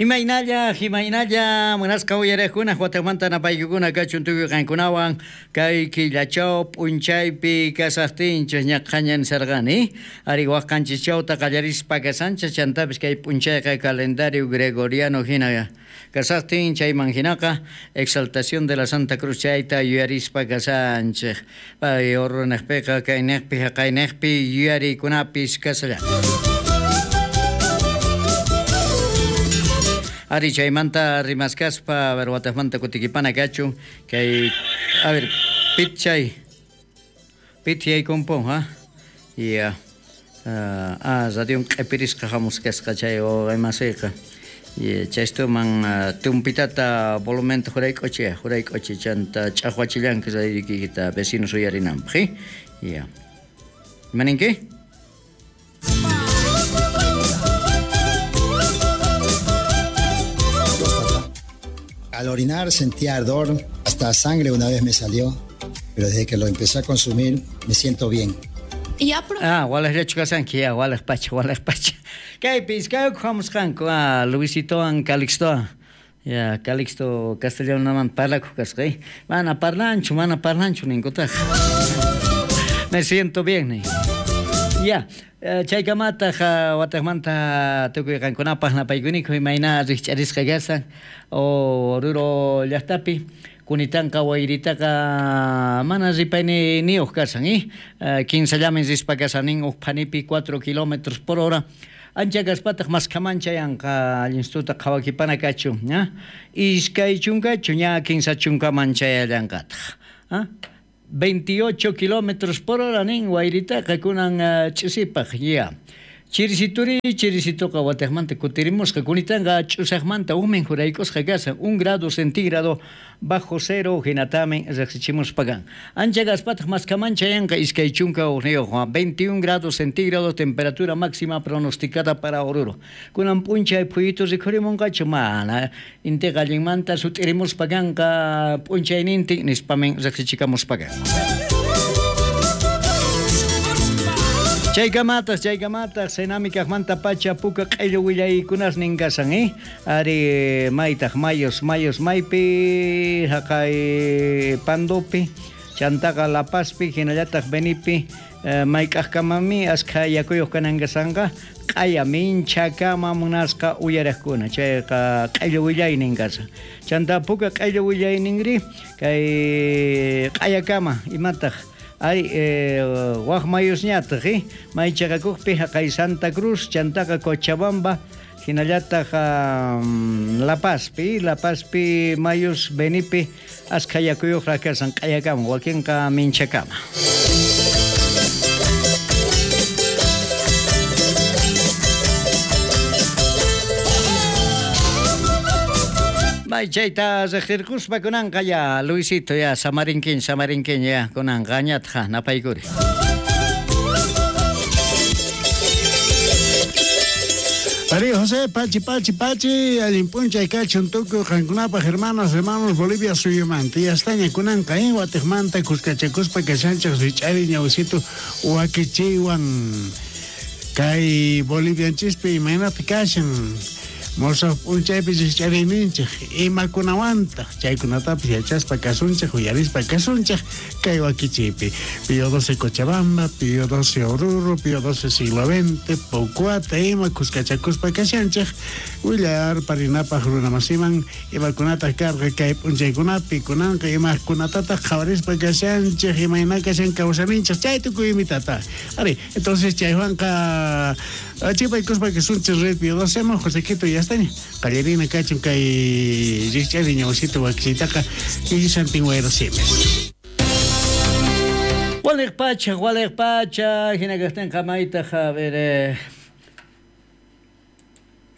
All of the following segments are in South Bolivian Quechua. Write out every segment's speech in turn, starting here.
Imaynalla, imaynalla, munasqa uyariqkuna watamanta napaykukuna kachun tukuy qankunawan kay killachaw p'unchaypi kasaqtinchik ñaqhaña nisarqani. Ari waq qanchischawta qallarispa kasanchik chantapis kay p'unchayqa calendario gregoriano hina kasaqtin chayman hinaqa exaltación de la Santa Cruz chayta yuyarispa kasanchik. Pay Oruro niqpiqa kayniqpi haqayniqpi yuyariykunapis kasallan. Ari chaymanta rimaskaspa, a ver, wataqmanta kutikipana kachun kay, a ver, pit chay pit yaykumpun, ha? Ya. Ah, radion q'ipirisqa hamuskasqa chay wawqimasiyqa. Chaystuman tumpitata volumenta jurayk'uchi, jurayk'uchi chanta ch'aqwachillanki radioykita vecinos uyarinanpaq, eh? Ya. Ima ninki? Al orinar sentía ardor, hasta sangre una vez me salió, pero desde que lo empecé a consumir me siento bien. Ah, walejllachu kasanki, ya, walej pacha, walej pacha. Kaypi iskayku hamusqanku, ah, Luisitowan Calixtowan. Ya, Calixto castellanoman parlakuq kasqa, eh. Mana parlanchu, mana parlanchu ninkutaq. Me siento bien, nin. Ya, chaykamataq wataqmanta tukuy qankunapaq napaykuniku imayna rikch'arisqa kasan Oruro llaqtapi. Kunitanqa wayritaqa mana ripayniyuq kasan, eh. Kinsallamin rispa kasan nin uj phanipi 4 kilómetros por hora. Ancha kaspataq maskhaman chayanqa allinstuta qhawakipana kachun, ña. Iskay chunkachu ña kinsa chunkaman chayallanqataq. ¿Ah? 28 kilómetros por hora nin wayritaqa kunan ch'isipaq, ya. Chirisituri, chirisituqa wataqmanta kutirimusqa kunitanqa ch'usaqmanta umin jurayk'usqa kasan 1 grado centígrado bajo cero hinatamin riqsichimuspa kan. Ancha kaspataq maskhaman chayanqa 21 21 grados centígrado temperatura máxima pronosticada para Oruro. Kunan p'unchay phuyutu rikhurimunqachu mana intiqa allinmanta sut'irimuspa kanqa p'unchaynintin nispamin riqsichikamuspa kan. Chaykamataq, chaykamataq, Senami kaqmanta pacha puka q'illu willaykunasnin kasan, eh? Ari maytaq mayos, mayos maypi, haqay Pandopi, chantaqa La Pazpi, hinallataq Benipi, mayk'aqkamami askha yakuyuq kanan kasanqa, q'aya minchakama munasqa uyariqkuna, chayqa q'illu willaynin kasan. Chanta puka q'illu willayninri, kay q'ayakama, imataq? Ay, waq mayusñataq, eh? Maychaqakuqpi haqay Santa Cruz, chantaqa Cochabamba, hinallataq La Pazpi, La Pazpi mayus Benipi askha yakuyuqraq kasan q'ayakama, wakinqa minchakama. May chayta riqsirquspa kunanqa ya, Luisito ya, samarinkiñ, samarinkiñ ya, kunanqa añatqa napaykuri. María José, pachi, pachi, pachi, allin p'unchay kachun tukuy qankunapaq hermanas, hermanos, Bolivia suyumanta. Yastaña kunanqa, watiqmanta kuskachakuspa kashanchaq rich'ari ñawsito wakichiywan. Kay Bolivianchispi imaynata kashan, mosoq p'unchaypi rich'ariyninchik, imakunawantaq, chaykunatapis yachaspa kasunchik, uyarispa kasunchik, kay wakichiypi. Pío 12 Cochabamba, Pío 12 Oruro, Pío 12 siglo XX, Pocuata, ima kuskachakuspa kashanchik, willar parinapaq runamasiman, imakunataq karqa kay p'unchaykunapi, kunanqa imakunatataq qhawarispa kashanchik, imayna kashan kawsaninchik, chay tukuy imitata. Ari, entonces chaywanqa chipaykuspa kasunchik red Pío 12 man, Josequito, ya está. Qallarina kachun kay rikch'ari ñawsita wakichiytaqa Santin Wayrasimes. Waliq pacha, waliq pacha, hina kaqtinqa maytaq, a ver,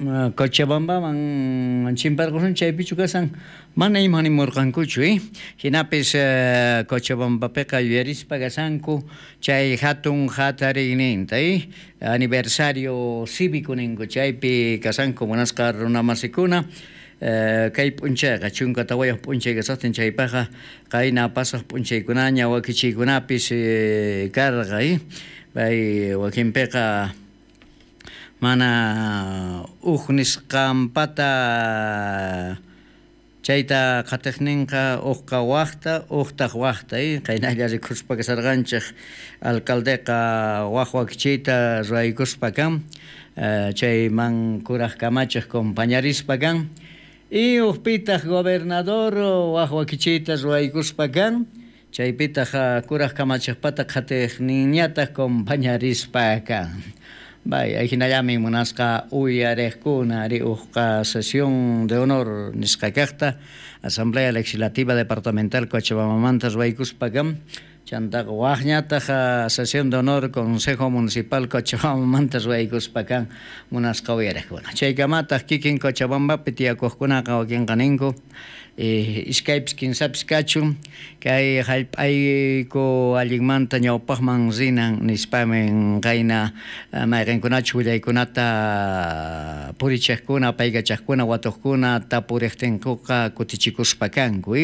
Cochabambaman chimparqusun chaypichu kasan, mana ima nimurqankuchu, eh? Hinapis Cochabambapiqa yuyarispa kasanku chay hatun hatariyninta, eh? Aniversario cívico ninku chaypi kasanku munasqa runamasikuna. Kay p'unchayqa 14 p'unchay kasaqtin chaypaqqa qayna pasaq p'unchaykunaña wakichiykunapis karqa, eh? Pay wakinpiqa Mana uj nisqanpata chayta qhatiqninqa ujqa wajta, ujtaq wajta, qaynalla rikuspa kasarqanchej alcaldeqa waj wakichiyta ruwaykuspa kan, chayman kuraj kamachej compañarispa kan, y ujpitaq gobernador waj wakichiyta ruwaykuspa kan, chaypitaq kuraj kamachejpata qhatiqninñataq compañarispa kan. Bay, ajinallami munasqa uyarejkuna ari ujqa sesión de honor nisqa kajta Asamblea Legislativa Departamental Cochabambamanta ruwaykuspa kan, chantaqa wajñataq sesión de honor Consejo Municipal Cochabambamanta ruwaykuspa kan munasqa uyarejkuna. Chaykamataq kikin Cochabambapi tiyakujkunaqa wakinqa ninku iskaypis kinsapis kachun kay hallp'ayku allinmanta ñawpaqman rinan nispamin qayna mayqinkunachu willaykunata purichejkuna, paykachajkuna, watuqkuna tapuriqtinkuqa kutichikuspa kanku.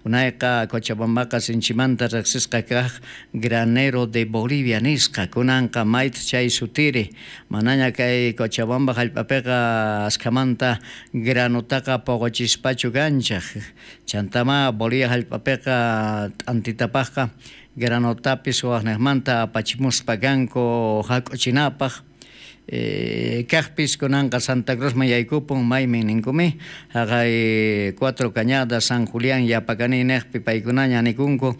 Unayqa Cochabambaqa sinchimanta riqsisqa kaq granero de Bolivia nisqa, kunanqa mayta chay sutiri, manaña kay Cochabamba hallp'apiqa askhamanta granutaqa puquchispachu kanchaq. Chantama Bolivia hallp'apiqa t'antitapaqqa granutapis waqniqmanta apachimuspa kanku hak'uchinapaq. Kaqpis kunanqa Santa Cruzman yaykupun maymin ninkumi haqay Cuatro Cañadas, San Julián Yapacani niqpi paykunaña nikunku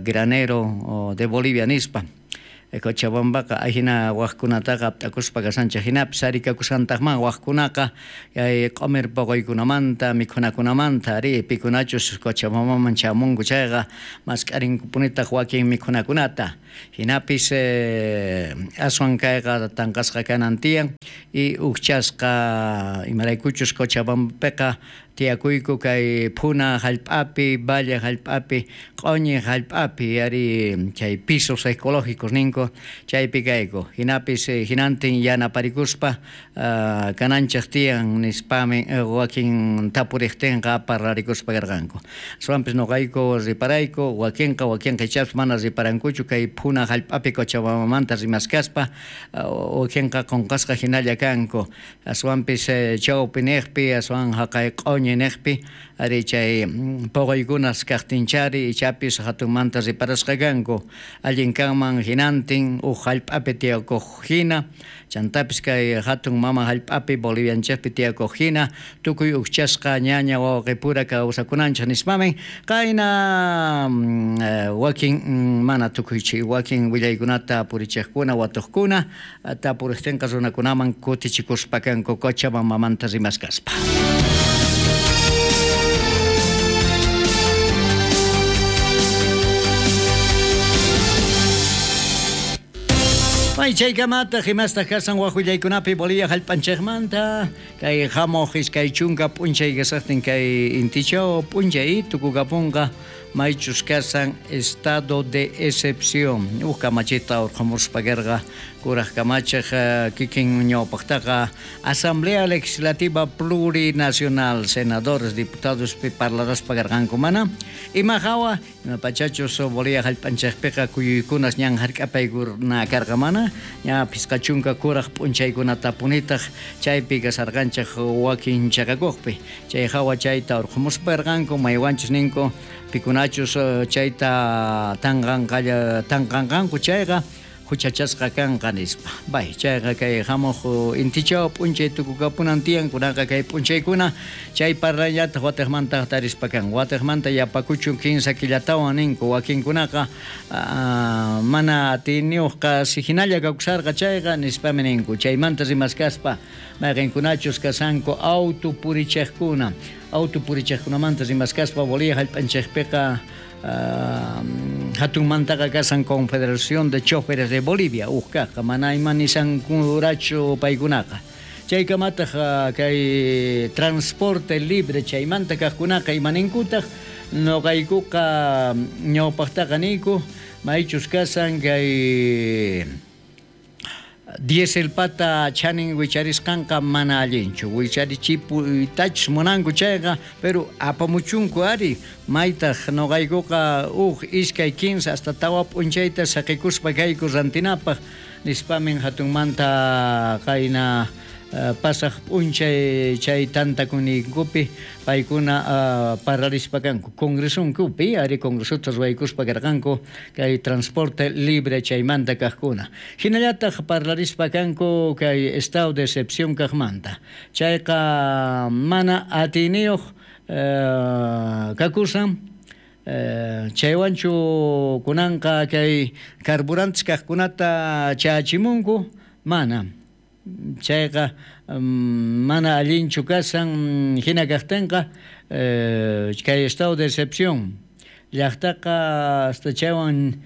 granero de Bolivia nispa. Cochabambaqa ajina wajkunataqa apt'akuspa kasanchej jinapis arikakusqantaqman wajkunaqa kay q'umir puquykunamanta mikhunakunamanta ari pikunachus Cochabambaman chamunku chayqa mask'arinkupunitaq wakin mikhunakunata jinapis aswan kayqa tanqasqa kanan tiyan y ujchasqa imaraykuchus Cochabambapiqa tiyakuyku kay phuna hallp'api, valle hallp'api, q'uñi hallp'api ari chay pisos ecológicos ninku chaypi kayku jinapis jinantin yanaparikuspa kananchej tiyan nispami wakin tapuriqtinqa parlarikuspa karqanku. Aswanpis nuqayku riparayku wakinqa ichapis mana riparankuchu kay phuna hallp'api Cochabambamanta rimaskaspa wakinqa qunqasqa hinalla kanku aswanpis chawpi niqpi aswan haqay q'uñi niqpi ari chay puquykunas kaqtinchari ichapis hatunmanta riparasqa kanku allin kanman hinantin uj hallp'api tiyakuq hina chantapis kay hatun mama hallp'api Bolivianchejpi tiyakuq hina tukuy ujchasqa ñaña wawqipura kawsakunanchej nispamin qayna wakin mana tukuychi wakin willaykunata purichejkuna watuqkuna tapuriqtinqa runakunaman kutichikuspa kanku Cochabambamanta rimaskaspa. May chaykamata himastaq kasan waj willaykunapi Bolivia hallp'anchejmanta kay hamuq iskay chunka p'unchay kasaqtin kay intichaw p'unchay tukukapunqa maychus kasan estado de excepción uj kamachita urqhamuspa karqa kuraj kamachej kikin ñawpaqtaqa Asamblea Legislativa Plurinacional senadores diputados parlaraspa karqanku mana ima hawa ima pachachus Bolivia hallp'anchejpiqa kuyuykunas ñan hark'apaykuna karqa mana ña phisqa chunka kuraj p'unchaykunatapunitaq chaypi kasarqanchej wakin chaqakuqpi chay hawa chayta urqhamuspa karqanku maywanchus ninku pikunachus chayta tanqanqanku chayqa huchachasqa kanqa nispa. Bay, chayqa kay hamuq intichaw p'unchay tukukapunan tiyan kunaqa kay p'unchaykuna chay parlayllata watiqmanta tarispa kan. Watiqmanta yapakuchun 15 killatawan ninku wakinkunaqa mana atiyniyuqqa si hinalla kawsarqa chayqa nispami ninku. Chaymanta rimaskaspa mayqinkunachus kasanku auto purichejkuna. Auto purichejkunamanta rimaskaspa Bolivia hallp'anchejpiqa hatunmantaqa kasan Confederación de Choferes de Bolivia ujkaqqa mana ima nisankurachu paykunaqa chaykamataq kay transporte libre chaymanta kaqkunaqa imaninkutaq nuqaykuqa ñawpaqtaqa niyku maychus kasan kay Dieselpata chanin wicharisqanqa mana allinchu. Wicharichipuytachus munanku chayqa, pero apamuchunku ari, maytaq noqaykuqa uj, iskay, 15 hasta tawa p'unchayta saqikuspa kayku rantinapaq, nispamin hatunmanta qayna pasaq p'unchay chay tantakuyninkupi paykuna parlarispa kanku. Congresunkupi, ari congresota ruwaykuspa karqanku kay transporte libre chaymanta kaqkuna. Hinallataq parlarispa kanku kay estado de excepción kaqmanta. Chayqa mana atiyniyuq kakusan, chaywanchu kunanqa kay carburantes kaqkunata chachimunku, mana. Chayqa mana allinchu kasan hina kaqtinqa kay estado de excepción llaqtaqa hasta chaywan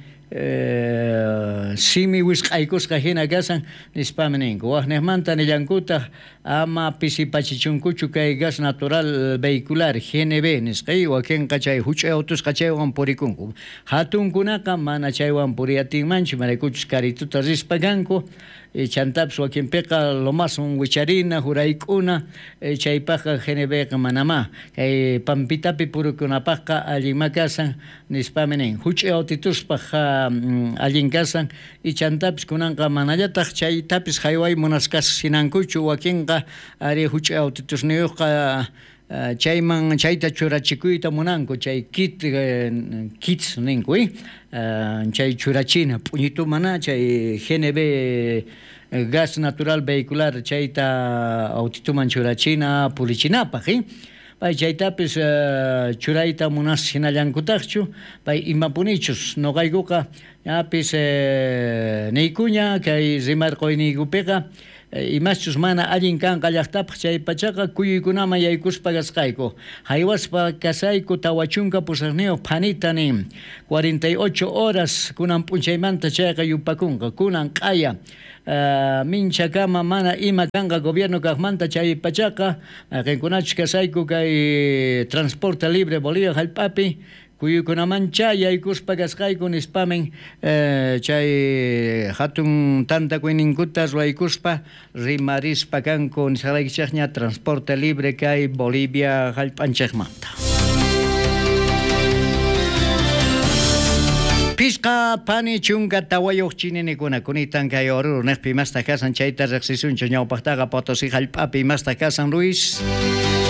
simi wisq'aykusqa hina kasan nispami ninku. Waqniqmanta nillankutaq ama pisipachichunkuchu kay gas natural vehicular GNV nisqa, wakinqa chay huch'uy autusqa chaywan purikunku. Hatunkunaqa mana chaywan puriyatinmanchu, maraykuchus karituta rispa kanku, chantapis wakinpiqa lomasun wicharina, hurayk'una, chaypaqqa GNVqa manamá. Kay pampitapi purikunapaqqa allinma kasan nispami nin. Huch'uy autituspaq allin kasan, y chantapis kunanqa manallataq chaytapis hayway munasqasinankuchu wakinqa ari huch'uy autitusniyuqqa chayman chayta churachikuyta munanku, chay kit kits ninku, chay churachina p'uñitu mana chay GNV gas natural vehicular chayta autituman churachina purichinapaq, pay chaytapis churayta munasinallankutaqchu, pay imapunichus noqaykuqa ñapis niykuña kay rimarqoyniykupiqa imaschus mana allin kanqa llaqtapaq chay pachaqa kuyuykunaman yaykuspa kasqayku. Haywaspa kasayku 48 phanita nin 48 horas kunan p'unchaymanta chayqa yupakunqa kunan q'aya minchakama mana ima kanqa gobierno kaqmanta chay pachaqa mayqinkunachus kasayku kay transporte libre Bolivia hallp'api kuyuykunamancha yaykuspa kasqayku nispamin chay hatun tantakuyninkuta ruwaykuspa rimarispa kanku nisqalaykichikña transporte libre kay Bolivia hallp'anchikmanta. Pisqa pani chunka tawayuq chininikuna kunitan kay Oruro niqpi imastaq kasan chayta riqsisunchik ñawpaqtaqa Potosí hallp'api imastaq kasan Luis.